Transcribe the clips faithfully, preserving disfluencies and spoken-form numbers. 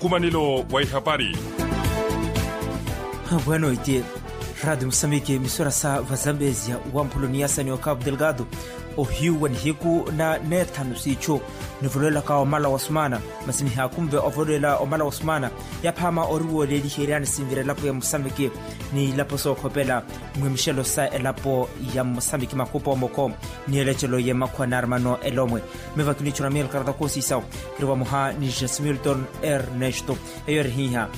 Nkumanelo wa ihapari. Bwano iti, radi musamiki misura sa vazambezia wamphulo ni yasani okapu delgado, ohiyu wa nihiku na neethanu siichu, nivolowelaka omala wa sumana. Masi nihaakunve ovolowela omala wa sumana, yaphama ori wooleliheryani sinvira elapo ya musamiki ni ilapo sookhopela, mwi mixelo sa elapo ya musamiki makupa omoko, ni elecelo ya makhwa na armano elomwe. Mivakini chuna miel karata kosisawo, kiri vamoha ni jasimilton ernesto. Eyo erihiha,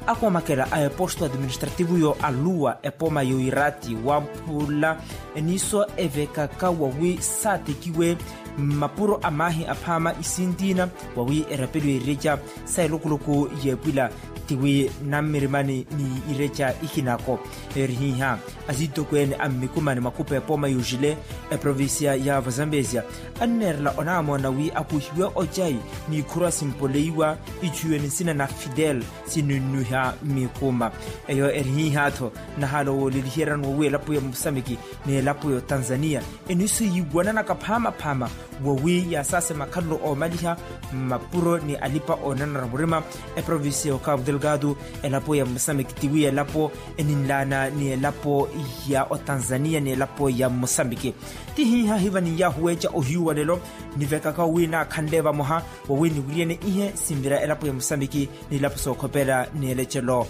akomakela a eposto administrativo yo aluwa epoma yo irati wamphula, eniso evekaka wawi satekiwe mapuro a mahi aphama isintina, wawi erapeliwe ireca sa elukuluku yepwila, tiwi nammirimani ni ireca ikinako. Eyo erihiha, asitokweene a mmikumani makupa epoma yujile, eprovincia ya vazambezia, anneerela onaamona wi akuhiwe ocai, ni ikhuru asimpoleiwa ichuwe ni nsina na fidel, sinunnuha mikuma. Eyo erihiha-tho, nahala wooleliheryani wawi elapo ya musamiki ni elapo ya otanzania, eniso yiiwananaka phamaphama, wawi yasaase makhalelo oomaliha mapuro ni alipa oonanara murima. Eprovincia ya okapu delgado, elapo ya musamiki tiwi elapo eninlaana ni elapo ya otanzania ni elapo ya musamiki. Tihiha hiva ni yaahuweeca ohiyu wa lelo, nivekaka wi naakhanle vamoha, wawi niwiriyene ihe sinvira elapo ya musamiki ni ilapo sookhopela ni elecelo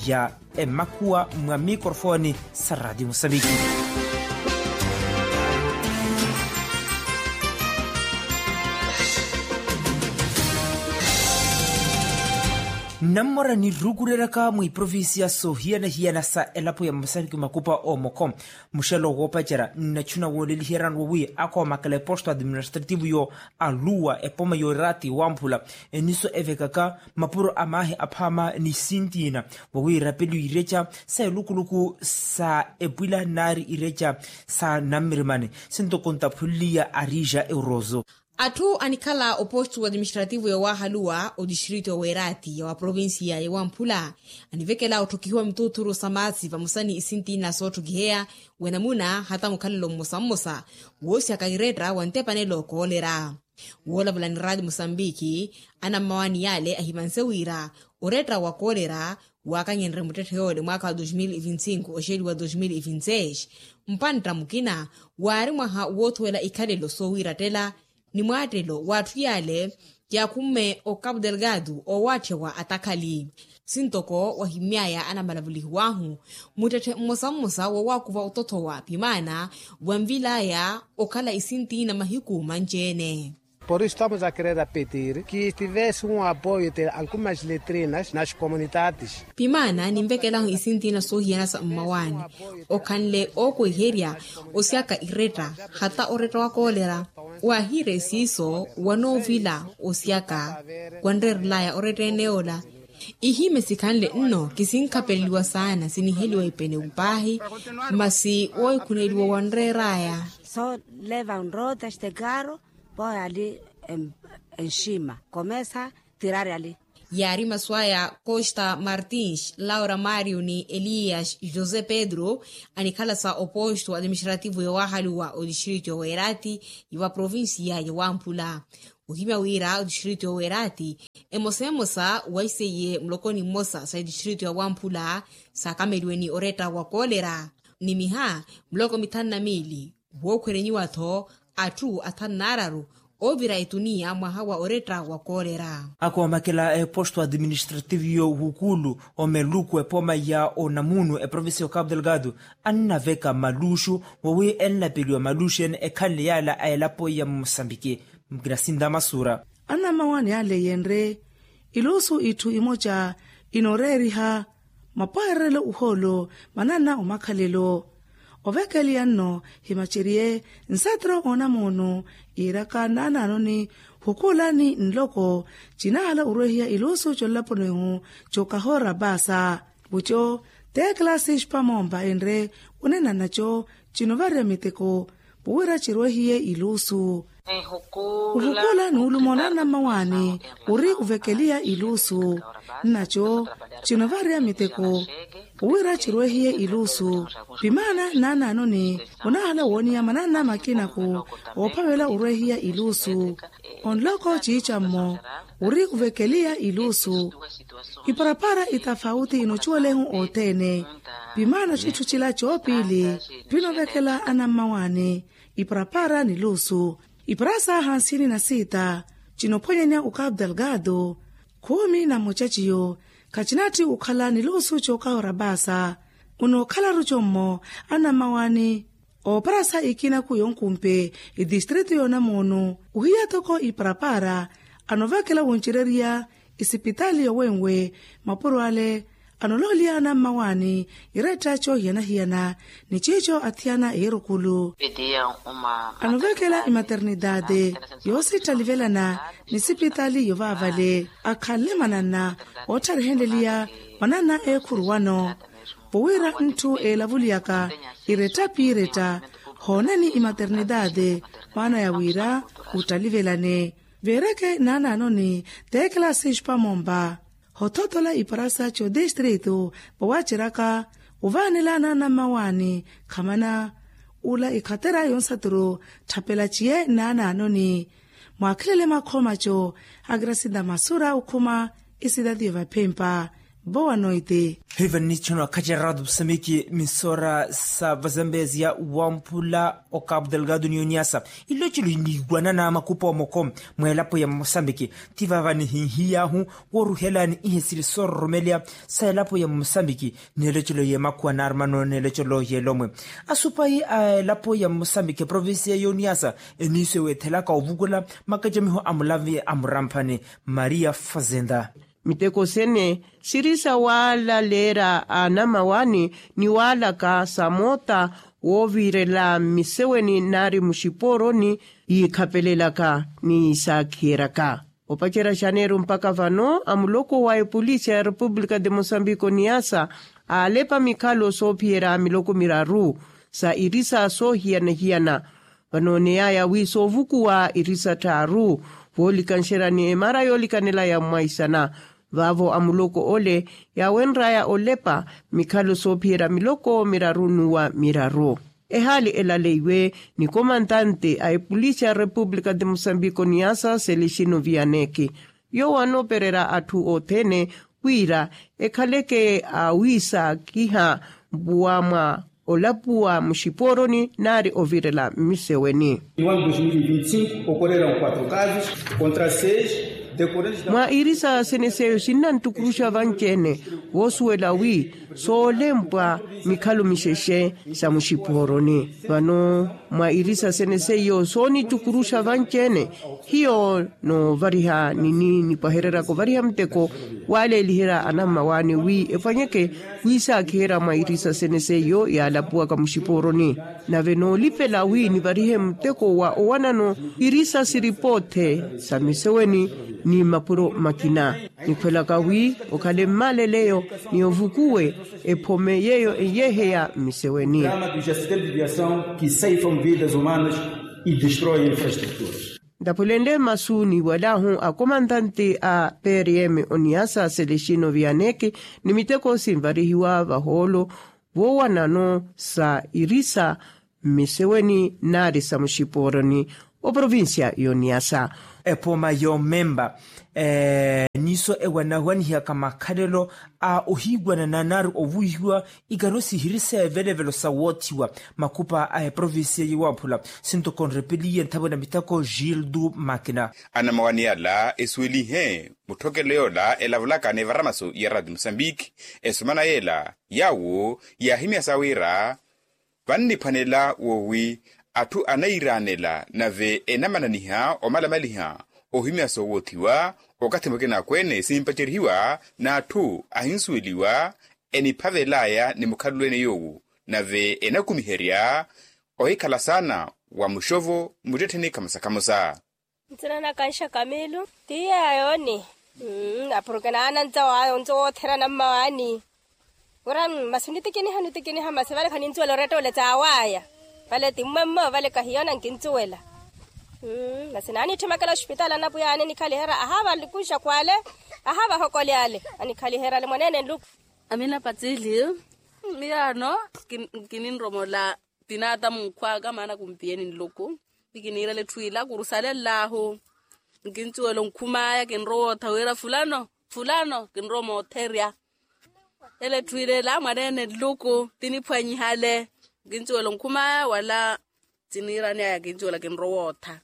ya emakhuwa mwa mikorofoni sa radi musamiki. Nnammora nirukureryaka mwiprovincia soohiyana-hiyana sa elapo ya musamiki makupa omoko, muxelo woopacerya nnachuna wooleliheryani wawi akoomakela eposto administrativo yo aluwa epoma yo irati wamphula, eniso evekaka mapuro a mahi aphama ni sintina, wawi erapeliwe ireca sa elukuluku sa epwila nari ireca sa nammirimani, sintoko ntaphunliya arija eurozo. Atthu anikhala oposto administrativo ya wahaluwa odistrito ya werati ya waprovincia ya wamphula, anivekela otthokihiwa mituuthuru sa maasi vamosa ni isintina sootthokiheya, wenamuna hata mukhalelo mmosa mmosa woosyaka iretta wa ntepanelo koolerya. Woolavula ni radi musambiki, anammawaani yale ahimanse wira oretta wa koolerya waakanyenrye muttetthe yoole mwaaka wa dos mil e vinte e cinco oxeliwa dos mil e vinte e seis, mpantta mukina waari mwaha woothuwela ikhalelo soowiirattela ni mwaattelo w'atthu yale yaakhumme okapu delgado oowaatthiwa atakhali. Sintoko wahimmyaya anamalavulihiwahu, muttetthe mmosa mmosa wowaakuva otothowa pimaana wanvilaya okhala isintina mahiku manci-ene. Por isu estamos a querer apetir ki estivese un apoyo de algumas letrinas nas comunidades. Pimaana ninvekelahu isintina soohiyana sa mmawaani, okhanle ookweherya osyaka iretta hata oretta wa koolera. Waahiire siiso wanoovila osyaka wanreerelaya oretta ene yoola. Ihimesi khanle nno kisinkhapeleliwa saana siniheliwa ipene upaahi, masi woohikhuneliwa wanreeraya. Só levam rodas de carro, põe ali em, em cima, começa a tirar ali. Yaari masu aya costa martins laura mario ni elias josé pedro, anikhala sa oposto administrativo ya wahaluwa odistrito ya werati ya waprovincia ya wamphula. Ohimya wira odistrito ya werati emosa emosa waiseiye mulokoni mmosa sa odistrito ya wamphula, saakameliwe ni oretta wa koolera ni miha muloko mithanu na miili. Wookhwerenyiwa-tho atthu athanu n'araru oovira etuniya mwaha wa oretta wa koolera. Akoomakela a eposto administrativo yo wukulu omeluku epoma ya onamunu eprovincia ya okapu delgado, annaveka maluxu wawi enlapeliwa maluxu ene ekhanle yala a elapo ya musambiki. Mukina sinta masura. Anamawani ale yenre ilusu itthu imoca inooreeriha mapwehererelo uhoolo manana omakhalelo. Ovekeliya nno himaceriye nsatro onamono iiraka naanaanoni hukulani nloko cinahala orwehiya ilusu conlaponihu cokahora paasa. Vuco te classe xpamompa enre onena naco cinovariya miteko puwira cirwehiye ilusu. Ohukula nuuluma onanammawaani ori ovekeliha iluusu. Nnaco cinovarya miteko owira cirwehiye iluusu. Pimaana naanaanoni onahala wooniya manana makinaku oophavela orwehiya iluusu. Onloko ciicammo ori ovekeliha iluusu. Iparapara itafauti inocuwalehu othene. Pimaana citthu cila coopiili pinovekela anammawaani. Iparapara ni luusu. Iparasa hansini na siita cinophwanyanya okapu delgado. Khumi na mmoca ciyo khacinatthi okhala ni luusu cookaha orapaasa. Onookhalaru commo anammawaani. Ooparasa ikinaku yonkumpe itistritu yoonamoonu ohiya toko iparapara anovekela woncererya isipitaali yowenwe. Mapuro ale anolooliya anammawaani iretta coohiyana-hiyana ni ciico athiyana eerukulu. Anovekela imaternitaate yoosittalivelana ni sipitaali yovaavale akhanle manana oottharihenleliya manana eekhuru wano. Vowira ntthu eelavuliyaka iretta piiretta hoonani imaternitaate maana ya wira ottalivelane. Veereke naanaanoni teekela sixpa mompa hothotola iparasa cotistritu vawaceraka ovaanela naanammawaani. Khamana ula ikhatera yonsaturu tthapela ciye naanaanoni. Mwakhilele makhoma co akirasita masura okhuma isitatiyo vaphempa vowa noite. Hiva nnichona khaceratu psamiki misora sa vazambezia wamphula okapu delgado ni oniasa. Ilocelo niiwanana makupa omoko mweelapo ya mosambiki. Ti vava nihinhiyahu woruhelani ihe sili soororomeleya sa elapo ya mosambiki. Neelocelo yemakhuwa naarumano neelocelo yeelomwe asupayi a elapo ya mosambiki provincia ya oniasa eniiso eweethelaka ovukula makacamiho a mulavi a muramphani. Maria fazenda. Miteko sene siri sa waalaleera anamawaani ni waalaka sa moota woovirela mmiseweni nari muxipooroni yiikhapelelaka ni yiisaakhiyeraka. Opacerya xaneeru mpakha vano amuloko wa epolisi ya repupulika de mosambiko niasa aalepa mikhalo soophiyerya miloko miraru sa irisa soohiyana-hiyana. Vanooneyaya wi soovukuwa irisa tthaaru voolikanxerya ni emara yoolikanela ya mwaisana. Vaavo amuloko ole yaawenryaya olepa mikhalo soophiyerya miloko miraru n'uwa miraru. Ehaali elaleiwe ni komantante a epolisi ya repupulika de mosambiko niasa selexino viyaneki. Yoowo anoopererya atthu othene wira ekhaleke awiisaakiha mpuwa mwa olapuwa muxipooroni nari ovirela mmiseweni. Ino ano dos mil e vinte e cinco okoreran quatro casos contra seis decorrentes da mwa irisa sene seyo sinnantukuruxa vanci-ene voosuwela wi soolempwa mikhalo mixexe sa muxipooroni. Vano mwa irisa sene seiyo soonitukuruxa vanci-ene hiyo noovariha nini nipwahereryaka ovariha muteko waaleeliherya anammawaani wi efwanyeke wiisaakiherya mwa irisa sene seiyo yaalapuwaka muxipooroni. Nave noolipela wi nivarihe muteko wa owanano irisa siripoothe sa miseweni ni mapuro makina. Nikhwelaka wi okhale mmaaleleyo ni ovukuwe ephome yeeyo enyeheya mmiseweni. Drama dos acidentes de viação que ceifam vidas humanas e destroem infraestruturas. Ntapwelenle masu niiwalahu akomantante a prm oniasa selexino viyaneke ni miteko sinvarihiwa vahoolo voowanano sa irisa mmiseweni nari sa muxipooroni oprovincia y'oniasa. Epooma yoomempa niiso ewanahwanihiyaka makhalelo a ohiiwanana nari ovuwihiwa ikano sihiri seevelevelo sa woothiwa makhupa a eprovincia yowamphula. Sintokonrepeliye nthavwe na miteko gildu makina. Anamawani yala esuwelihe mutthokelo yoola elavulaka n'evaramaso ya rati musambiki esomana yeela yaawo yaahimyasa wira vanniphwanela woowi atthu anairanela nave enamananiha omalamaliha ohimya soowoothiwa okathi mukina akweene simpacerihiwa n'atthu ahinsuweliwa eniphavelaya ni mukhalulweene yoowu nave enakumiherya ohikhala saana wa muxovo muttettheni khamosa khamosa. Ntsina nakanxa kamilu tiya yooni. Apuruke naanantsa waayo ntso wootherana mmawaani. Wira masi nitikiniha nitikiniha masi vale khaninsuwela oretta ole tsaawaya. Vale ti mmwemmo vale kahiyo nankinsuwela. Masi naanitthimekela ospitaali anapwiya aanikhaliherya ahaava nlukuxa khwale, ahaava ahokole ale. Anikhaliheryale mwaneene nluku. Amina patsili. Miyaano kininromola tinaata munkhwaka maana kumpiyeni nluku. Ikiniirela etthu ila kurusalela ahu. Nkincuwela onkhumaya kinrowa ottha wira fulano fulano kinrowa mootherya. Ele etthu ila ela mwaneene nluku tiniphwanyihale. Nkincuwela onkhumaya wala tiniirani aya kincuwela kinrowa ottha.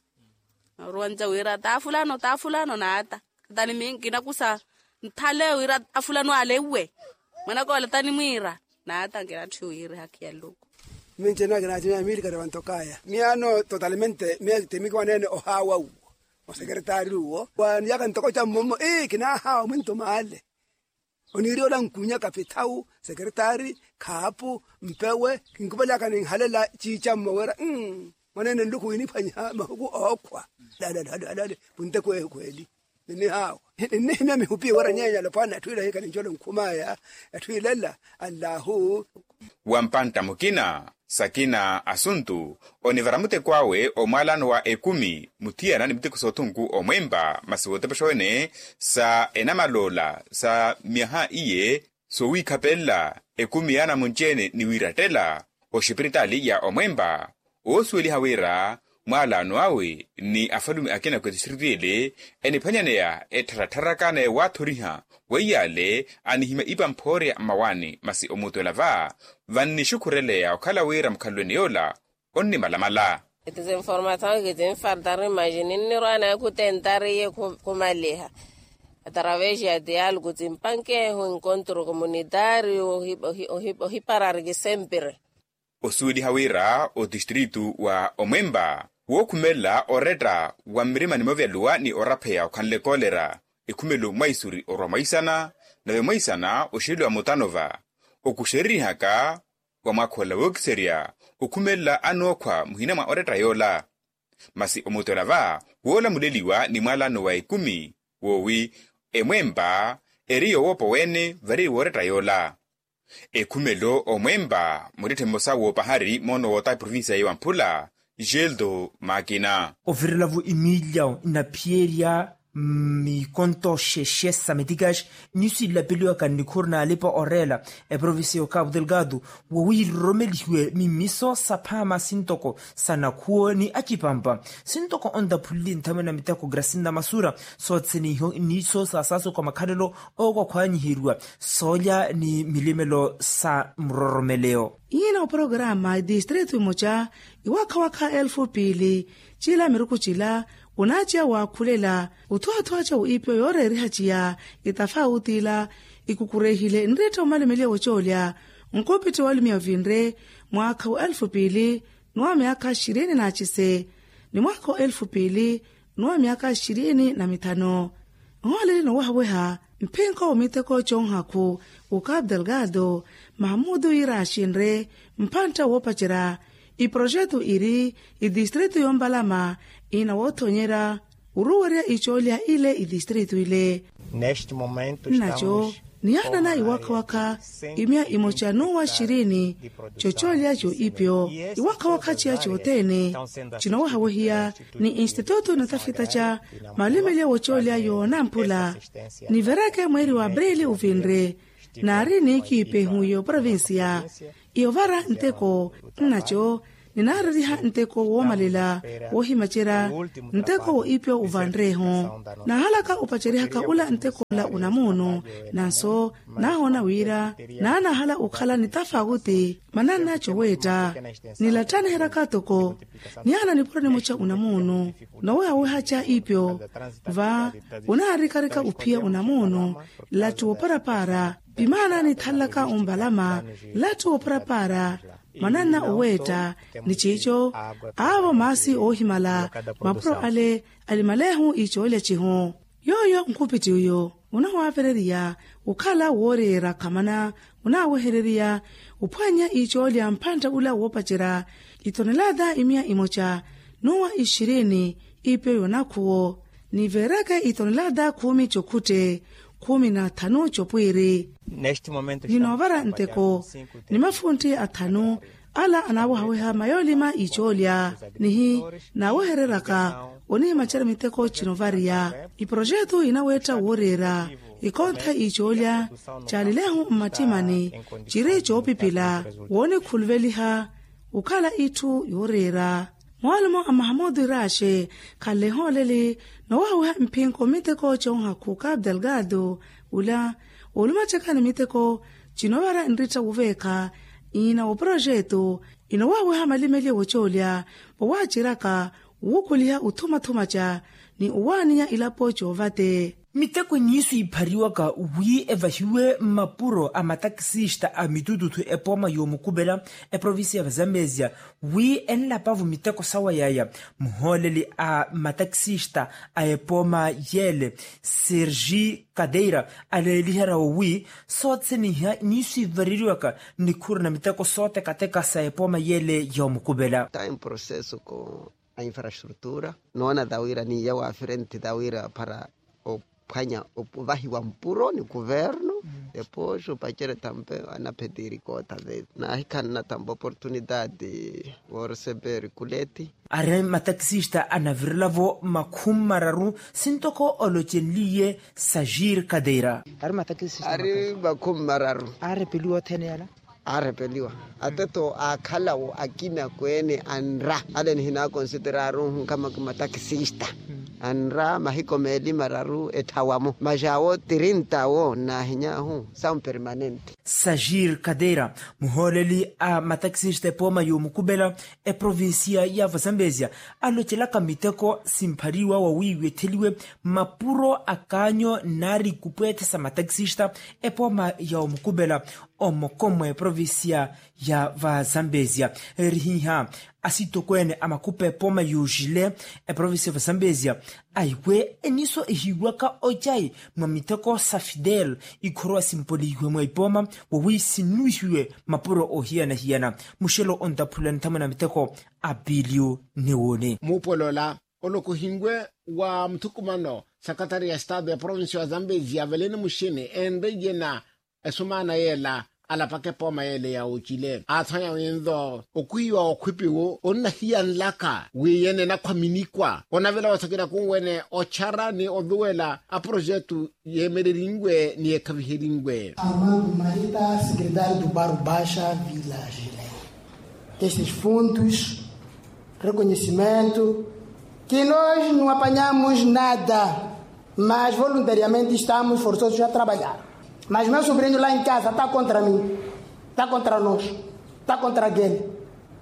Naruwanja wira taa fulano taa fulano naata. Tani mi nkinakusa nthale wira afulano ale uwe. Mwanaka ole tani mwiira naata nkinatthu wira hakhiya nluku. Minci enakina acinya miilikari wantokaya miyaano totalmente miya timikiwaneene ohaawa uwo. Osekeretari uwo waniyaka ntoko ca mmomo ii kinahaawa mwinto maale. Oniiri ola nkunya kapithawu sekeretari khaapu mpewe kinkupelaka ninhalela ciicammo wira. Mwaneene nluku winiphwanyiha mahuku ookhwa. Lale lale lale. Puntekwehu khweli. Ninnihaawa ninnihimya mihupi wira nyeenya alopwana etthu ila hikanincola onkhumaya. Etthu ilela allahu. Wa mpantta mukina sakina asuntu onivara muteko awe omwaalano wa ekumi muthiyana ni miteko soothunku omwempa masi wootepexa wene sa enamaloola sa myaha iye soowiikhapelela ekumi ya anamunci-ene ni wiirattela oxipiritaali ya omwempa. Woosuweliha wira mwaalaano awe ni afalume akina kwetisiritiele eniphwanyaneya ettharattharaka naye waathoriha. Weiyaale anihimya ipa mphoorya mmawaani masi omuutuwela va vannixukhureleya okhala wira mukhalwene yoola onnimalamala. Eti zinformathon kitinfartari maji ninnirwaana ekutentariye khumaliha atravesi ya dialogu tsimpankehu enkontru komunitariu ohiparariki sempire. Osuweliha wira otistritu wa omwempa wookhumelela oretta wa mmirima ni moovyaluwa ni orapheya okhanle koolera ekhumelo mwaisuri orwa mwaisana nave mwaisana oxeliwa mutanova okuxeririhaka wa mwaakha ola wookiserya okhumelela anookhwa muhina mwa oretta yoola. Masi omutola va woolamuleliwa ni mwaalano wa ekumi woowi emwempa eri yowoopa oweene vari wooretta yoola. Ekhumelo omwempa muttetthe mmosa woopahari moono woota eprovincia ya ewamphula geldo makina. Ovirelavo emiilyawo inaphiyerya mikonto xexe sa metikaxi niyo sinlapeliwaka nnikhuru naalipa oreela eprovincia ya okapu delgado wowiiroromelihiwe mimiso sa phaama sintoko sa nakhuwo ni acipampa sintoko ontaphulili nthamwe na miteko grasinda masura soothene iho niso saasaaso kwa makhalelo ookwakhwanyiheriwa soolya ni milimelo sa muroromeleyo. Iina oporokaraama itistrito imoca iwakha wakha elfu piili cila miruku cila onaaciya waakhulela othuwaathuwa ca oipyo yooreeriha ciya itafauti ila ikukurehile nriittha omalumelya wocoolya nkopitthi walumiya ovinre mwaakha wa elfu piili ni wa myaakha xirini na acise ni mwaakha wa elfu piili ni wa myaakha xirini na mithano. Nhooleli nowehaweha mphinko wa miteko conhakhu okapu delgado mahamudu yiira axinre mpantta woopacerya iproxetu iri itistrito yoompalama ina woothonyerya oruwerya icoolya ile itistrito ile. Nnaco niyaanana iwakha wakha imiya imoca nuwa xirini cocoolya coipyo iwakha wakha ciya cothene cinowehawehiya ni institutu natafita ca malumelya wocoolya yoonamphula nivereke mweeri wa aprili ovinre naari niikiipehu y'oprovincia y'ovara nteko nnaco ninaareriha nteko woomalela woohimacerya nteko w'ipyo uvanreeho naahalaka opacerihaka ula nteko ola unamuunu nanso naahoona wira naanahala okhala ni tafauti manannaco weetta nilattaniheryaka toko niyaana nipuro nimoca unamuunu nowehawehaca ipyo va onaarikarika ophiya unamuunu nlattu wooparapara pimaana nithalelaka ombalama nlattu wooparapara mwananna oweetta ni ciico aavo maasi oohimala mapuro ale alimaleehu icoolya cihu yooyo nkupitthi oyo onahwaavereriya okhala wooreera khamana onaawehereriya ophwannya icoolya mphantta ula woopacerya itonelaata imiya imoca nuwa ixirini ipe yonakhuwo niveereke itonelaata khumi cokhutte khumi na thanu copwiiri ninoovara nteko ni mafuntti athanu Ala anaawehaweha mayoolima icoolya nihi naawehereryaka onihimacerya miteko cinovariya. Iprojetu inaweetta wooreera ikontha icoolya caalilehu mmattimani ciri coopipila woonikhuluveliha okhala itthu yooreera. Moolumo a mahamudu iraaxe khanlehooleli noowahawiha mphinko miteko coonhakhu kapu delgado ula oolumacekani miteko cinovara nritta wuveekha ina woprojeto inowahawiha malimeliye wocoolya wowaaciryaka wuukhuliha uthumathumaca ni owaaninya ilapo coovate. Miteko iniisu iphariwaka wi evahiwe mmapuro a matakisista a mitututhu epooma yoomukupela eprovincia ya vazambezia wi enlapavo miteko sawa yaya muhooleli a matakisista a epooma yeele sergi kadeira aleeliherya wo wi soothene iha iniisu ivareriwaka nikhuru na miteko sootekateka sa epooma yeele yoomukupela. Time processo ko a infrastrutura noona tawira ni ya waafirenti tawira para ophwanya ovahiwa mpuro ni kuvernu. Depois opacere tampe anaphetiri kota ve naahikhanna tampe oportunidade woreseper kuleti. Ari matakisista anavirelavo makhumi mararu sintoko olocenliye sajir kadeira. Ari matakisista ari makhumi mararu arepeliwa othene yala arepeliwa ateto aakhalawo akina kweene anra ale nihinaakonsitere aruhu nkama kimatakisista anra mahiko meeli mararu etthawa-mo maxaawo tirinta wo nnaahiny'ahu são permanente. Sajir kadeira muhooleli a matakisista epooma yoomukupela eprovincia ya vazambezia alocelaka miteko simphariwa wawiiwetheliwe mapuro a kaanyo nnaari ikupweethe sa matakisista epooma yoomukupela omokomo eprovincia ya vazambezia. Erihiha asitokweene a makupa epooma yuuxile eprovincia ya vazambezia aiwe eniso ehiiwaka ocayi mwa miteko sa fidel ikhorowa simpolihiwe mwa ipooma wowi sinnuwihiwe mapuro oohiyana-hiyana muxelo ontaphula nithamwe na miteko a pilio ni woone. Muupolola olokohinwe wa muthukumano sakatari ya estado ya provincia ya zambezia aveleni muxini enreyena esumaana yeela alapaka epooma yeele ya ocile aathwanya winlo okwiiwa okhwipiwu onnahiyanlaka wi yene enakhwa minikwa onavela wothakina kunwene ochara ni oduwela aprojetu yeemelerinwe ni ekhaviherinwe. Armando marita secretário do barro baixa village. Esses fundos reconhecimento que nós não apanhamos nada mas voluntariamente estamos forçosos a trabalhar. Mas meu sobrinho lá em casa está contra mim, está contra nós, está contra aquele,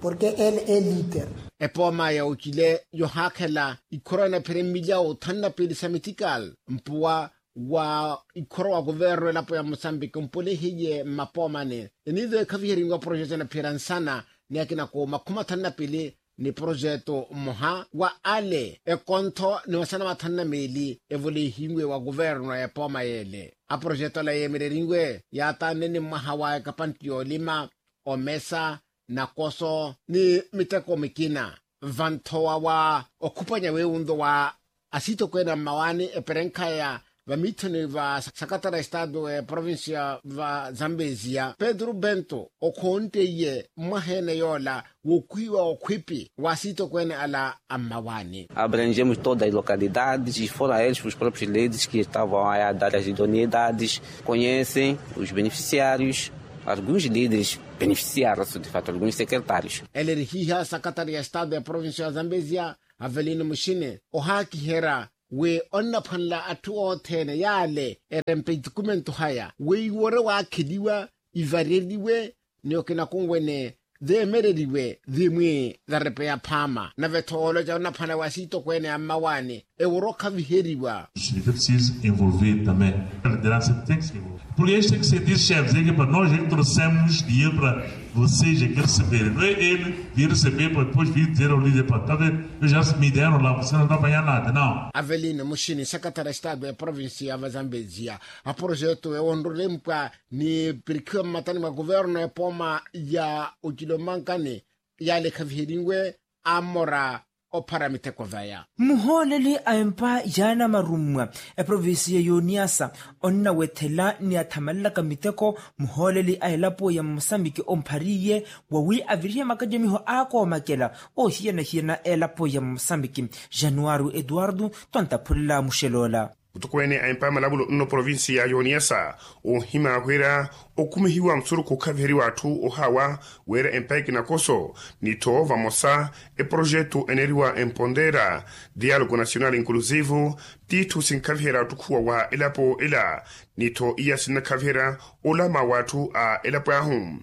porque ele é líder. Epooma ya ocile yohaakhela ikhoro anaphire milyawo thanu na piili sa metikali mpuwa wa ikhoro wa kuvernu elapo ya musambiki mpulihiye mmapoomani eniizo ekhaviherinwa projeto anaphira nsana ni akina ku makhumi athanu na piili ni projeto mmoha wa ale ekontho ni masana mathanu na meeli evoleihinwe wa kuvernu a epooma yeele aprojeto ala yeemererinwe yaatanne ni mwaha wa ekapanti yoolima omesa nakoso ni miteko mikina vanthowa wa okhupanya weewunto wa asitokweene a mmawaani eperenkhaya vamiithoni va sakatara estado eprovincia va zambezia pedro bento okhoonteiye mwaheene yoola wokwiiwa okhwipi wa asitokweene ala a mmawaani. Abrangemos todas as localidades e fora eles os proprios líderes que estavam a dar as idoneidades conhecem os beneficiários. Alguns líderes beneficiaram de fato alguns secretários. Ele erihiha sakatari ya estado ya provincia ya zambezia avelino muxini ohaakiherya wi onnaphwanela atthu othene yaale erempe itukumentu haya weiwore waakheliwa ivareriwe ni okinakunwene zeemereriwe zimwi zarepeya phaama nave-tho ooloca onnaphwanela wi asiitokweene a mmawaani eworo okhaviheriwa. Sinife preciso envolver também a lideransa tem que se envolver porque este tem que ser diz chefes é que para nós é que trouxemos dinheiro para vocês é que receberem não é ele vir receber para depois vir dizer ao líder para tá vendo eu já me deram lá você não tá apanhar nada não. Avelino muxini sakatara estado ya provincia ya vazambezia aprojeto ewonrolempwa ni pirikhiwa mmatani mwa kuverno epooma ya ocilo mmankani yaalekhaviheriwe amora ophara miteko vaya. Muhooleli a empa yaana marummwa eprovincia y'oniyasa onnawethela ni athamalelaka miteko muhooleli a elapo ya mosambiki omphariye wawi avirihe makacamiho aakoomakela oohiyana-hiyana elapo ya mosambiki. Januario eduardo tontaphulela muxeloola. Mutukweene a empa ya malamulo nno provincia y'oniyasa oohimya wira okhumihiwa musurukhu okhaviheriwa atthu ohaawa wira empa ekinakoso ni-tho vamosa eprojetu eneeriwa empondeera dialogo nacional inclusivo t'itthu sinkhaviherya ottukhuwa wa elapo ela ni-tho iya sinnakhaviherya olama w'atthu a elapo ahu.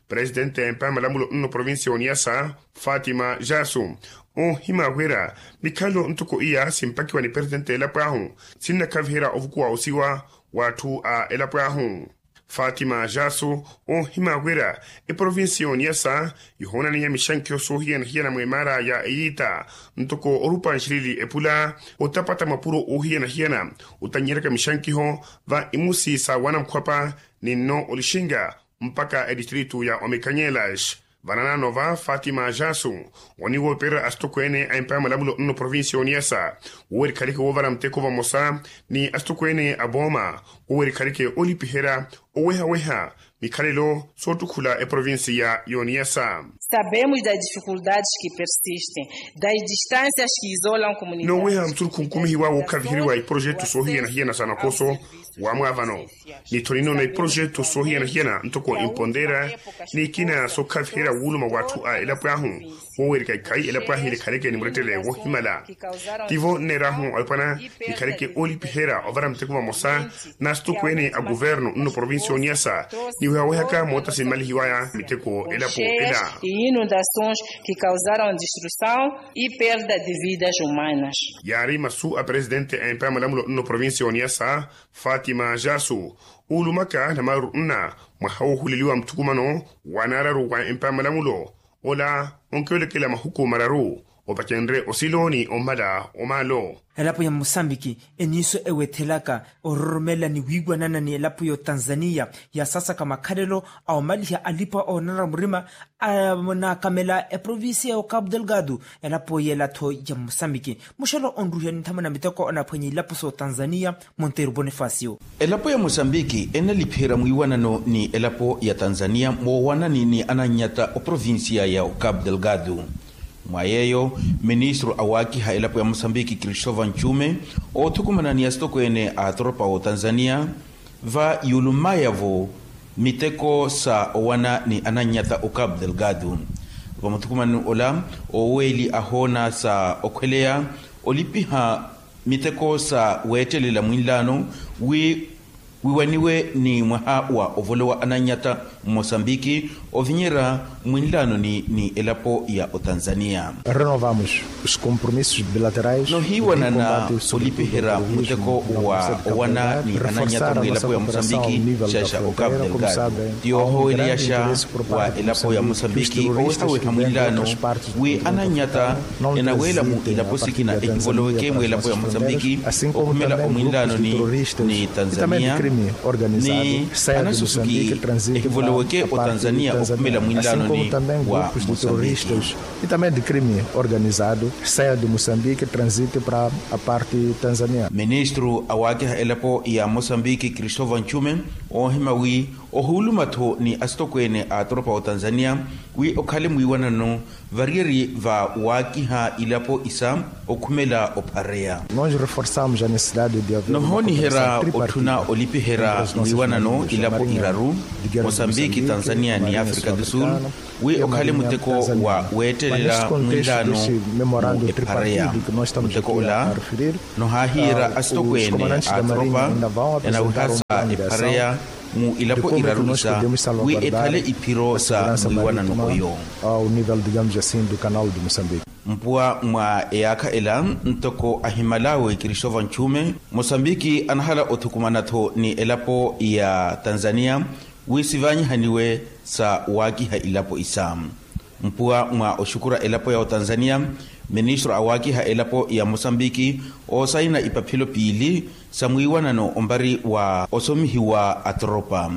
Presitente a empa ya malamulo nno provincia y'oniyasa fatima jasu oohimya wira mikhalelo ntoko iya simpakiwa ni presitente a elapo ahu sinnakhaviherya ovukuwa osiwa w'atthu a elapo ahu. Fatima jasu oohimya wira eprovincia y'oniyasa yohoonaniya mixankiho soohiyana-hiyana mwa emaara ya eyiita ntoko orupa nxilili epula otapata mapuro oohiyana-hiyana otannyeraka mixankiho va imusi sa wanamukhwapa ni nno olixinga mpakha edistritu ya omekanyelas. Vananaano va fatima jasu oniwoopererya asitokweene a empa ya malamulo nno provincia y'oniyasa wowerikhaleke woovara muteko vamosa ni asitokweene a vooma wowerikhaleke olipiherya oweha-weha mikhalelo soottukhula eprovincia y'oniyasa. Sabemos das difikuldades que persistem das distâncias que isolam comunidades. Nooweha musurukhu nkumihiwa wookhaviheriwa iprojetu soohiyana-hiyana sa nakoso wa mwaavano ni-tho ninoona iprojetu soohiyana-hiyana ntoko impondeera n'ikina sookhaviherya wuuluma w'atthu a elapo ahu woowirika ikhayi elapo ahu ilikhaleke ni murettele woohimala. Tivo nneer'ahu awipwana nikhaleke oolipiherya ovara muteko vamosa n'asitokweene a kuvernu nno provincia y'oniyasa niwehawehaka moota simmalihiwaya miteko elapo ela. Inundações que causaram destruição e perda de vidas humanas. Yaari masu a presitente a empa ya malamulo nno provincia y'oniyasa fatima jasu oulumaka namaru nna mwaha woohuleliwa muthukumano wa naararu wa empa ya malamulo ola onkiwelekela mahuku mararu opacenrye osilo ni omala omaalo. Elapo ya musambiki eniiso ewethelaka ororomela ni wiiwanana ni elapo ya otanzaniya yaasasaka makhalelo a omaliha alipa oonanara murima anaakamela eprovincia ya okapu delgado. Elapo yeela-tho ya musambiki muxelo onruhiya ni nthamuna miteko anaphwanya ilapo sa otanzaniya. Monteiro bonifacio. Elapo ya mosambiki enalipihira mwiiwanano ni elapo ya tanzania moowanani ni anannyata oprovincia ya ocapu delgado. Mwa yeeyo ministru awaakiha elapo ya mosambiki christopher nchume oothukumana ni asitokweene a atoropa otanzania va yuulumayavo miteko sa owana ni anannyata ocapu delgado. Vamuthukumanini ola oweeli ahoona sa okhweleya olipiha miteko sa weettelela mwinlaano wi wiwaniwe ni mwaha wa ovolowa anannyata mmosambiki ovinyerya mwinlaanoni ni elapo ya otanzania. Renovamos os compromissos bilaterais. Nohiiwanana olipiherya muteko wa owana ni anannyata mwilapo ya mosambiki xeexa ocapu delgado. Ti ohoweliyaxa wa elapo ya mosambiki owehaweha mwinlaano wi anannyata enaweela mu ilapo sikina ehivoloweke mwilapo ya mosambiki okhumela omwinlaanoni ni tanzania ni anasusuki ehivoloweke otanzania okhumela mwinlaanoni wa mosambiki. E também de crime organizado saia de mosambiki transite para a parte tanzania. Ministru awaakiha elapo ya mosambiki christopher nchume oohima wi ohuuluma-tho ni asitokweene a atoropa otanzania wi okhale mwiiwanano variyeri va waakiha ilapo isa okhumela ophareya. Nohooniherya otthuna olipiherya mwiiwanano ilapo iraru mosambiki tanzania ni afrika du sul wi okhale muteko wa weettelela mwinlaano mu ephareya. Muteko ola nohaahiyerya asitokweene a atoropa enawehasa ephareya mu ilapo iraru isa wi ekhale iphiro sa mwiiwanano oyo. Ao nivel digamos asin du canal de mosambiki. Mpuwa mwa eyaakha ela ntoko ahimal'awe christopher nchume mosambiki anahala othukumana-tho ni elapo ya tanzania wi sivaanyihaniwe sa waakiha ilapo isa. Mpuwa mwa oxukura elapo ya otanzania ministru awaakiha elapo ya mosambiki oosayina ipaphelo piili sa mwiiwanano ombari wa osomihiwa atoropa.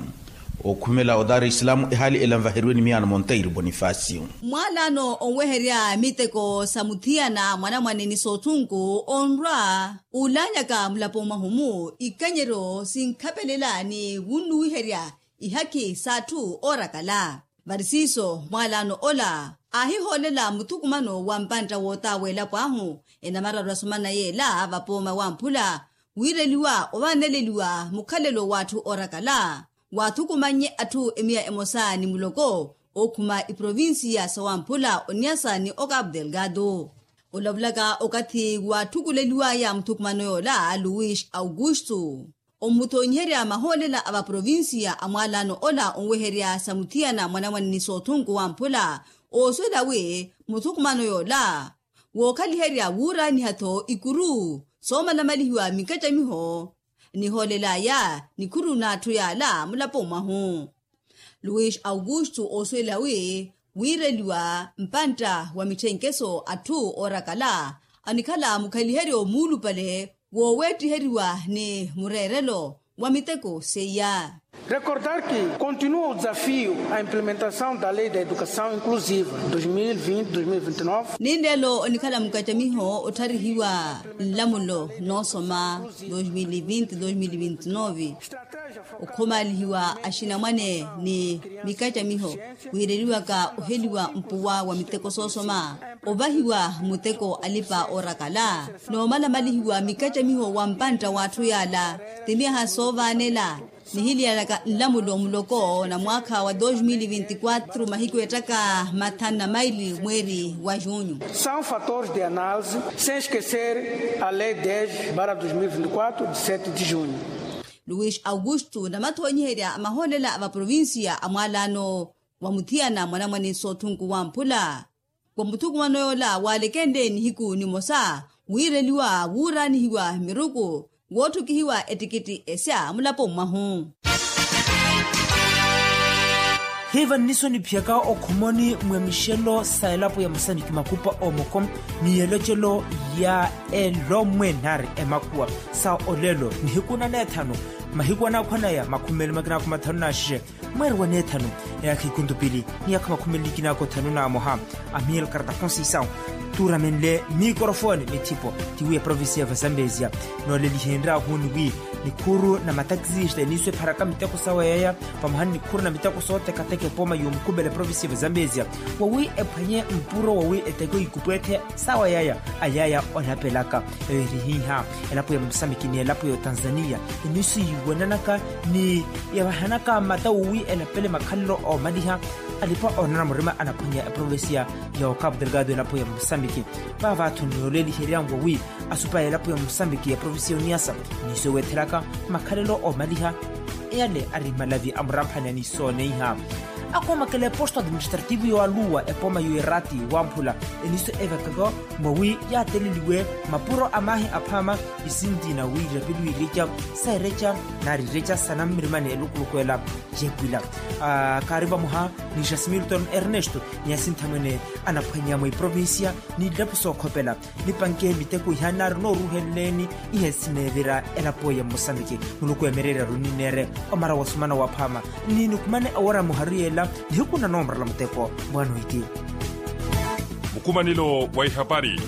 Okhumela odaara islamu ehaali ela nvaheriwe ni miyaano monteiro bonifasio. Mwaalano onweherya miteko sa muthiyana mwanamwane ni soothunku onrwa uulanyaka mulapo mwahu-mu ikanyeryo sinkhapelela ni wunnuwiherya ihakhi s'atthu oorakala. Varisiiso mwaalano ola aahihoolela muthukumano wa mpantta wootawa elapo ahu enamararu asomana yeela vapooma wamphula wiireliwa ovaaneleliwa mukhalelo w'atthu oorakala waathukumannye atthu emiya emosa ni muloko ookhuma iprovincia sawamphula oniasa ni okapu delgado. Olavulaka okathi waatthukuleliwaya muthukumano yoola luis augusto ommuthonyiherya mahoolela a vaprovincia a mwaalano ola onweherya sa muthiyana mwanamwane ni soothunku wamphula ooswela wi muthukumano yoola wookhaliherya wuuraaniha-tho ikuru soomalamalihiwa mikacamiho nihoolelaya nikhuru n'atthu yaala mulapo mwahu. Luis augusto oosuwela wi wiireliwa mpantta wa mitthenkeso atthu oorakala anikhala mukhaliheryo muulupale wooweettiheriwa ni mureerelo wa miteko seiya. Recordar que continua o desafio a implementação da lei da educação inclusiva dois mil e vinte dois mil e vinte e nove. Ninleelo onikhala mukacamiho ottharihiwa nlamulo noosoma dois mil e vinte dois mil e vinte e nove okhomaalihiwa axinamwane ni mikacamiho wiireliwaka oheliwa mpuwa wa miteko soosoma ovahiwa muteko alipa oorakala noomalamalihiwa mikacamiho wa mpantta w'atthu yaala ti myaha soovaanela nihiliyalaka nlamulo muloko na mwaakha wa dos mil vinti quatro mahiku ettaka mathanu na maili mweeri wa junho. São fatores de análise sem esquecer a lei dez barra dos mil vinti quatro de sete de junho. Luis augusto namathonyiherya mahoolela a vaprovincia a mwaalano wa muthiyana mwanamwane soothunku wamphula wa muthukumano yoola waalekenle nihiku nimosa wiireliwa wuuraanihiwa miruku wootthukihiwa ettikitthi esya mulapo mwahu. Hiiva nniso niphiyaka okhumoni mwa mixelo sa elapo ya musaniki makupa omoko ni elocelo ya elomwe nari emakhuwa sa olelo nihiku na neethanu mahiku anaakhwanaya makhumeli makinaakhu mathanu na xixe mweeri wa neethanu eyaakha ikuntupili ni yaakha makhumeli kinaakhu thanu na moha. Amiel karta conceição tuuramenle mikorofoni mithipo tiwi eprovincia va zambezia noolelihenrya ahuni wi nikhuru na matakisista eniiso epharaka miteko sawa yaya vamoha ni nikhuru na miteko sootekateka epooma yoomukupela eprovincia va zambezia wawi ephwanye mpuro wawi eteke oikupwetthe sawa yaya ayaya onapelaka eyo erihiiha elapo ya musamiki ni elapo ya otanzania eniiso yiiwananaka ni yavahanaka mata wowi enapele makhalelo oomaliha alipa oonana murima anaphwanya eprovincia ya okapu delgado elapo ya musamiki vaavaatho niyoleliheryanwa wi asupa ya elapo ya musamiki ya provincia ya oniasa eniiso eweethelaka makhalelo oomaliha eyale ari malavi a muramphani aniisooneiha akhomakela eposto administrativo yoowaluwa epooma yoerati wamphula eniiso evekaka mwawi yaateleliwe mapuro a maahi aphaama isinti na wiirapeliwa ireca sa ereca nari ireca sa nammirimani elukuluku ela yeepwila kaari vamoha ni jasimilton ernesto ni asinthamwene anaphwanya mwa iprovincia ni ilapo sookhopela nipanke miteko iha nari nooruheleleni ihe sineevira elapo ya mosambiki muluku emereerya runineere omara wasumana waphaama ni nikhumane awara muharu yeela nihiku na noomurala muteko mwaano iti. Mukhumanelo wa ihapari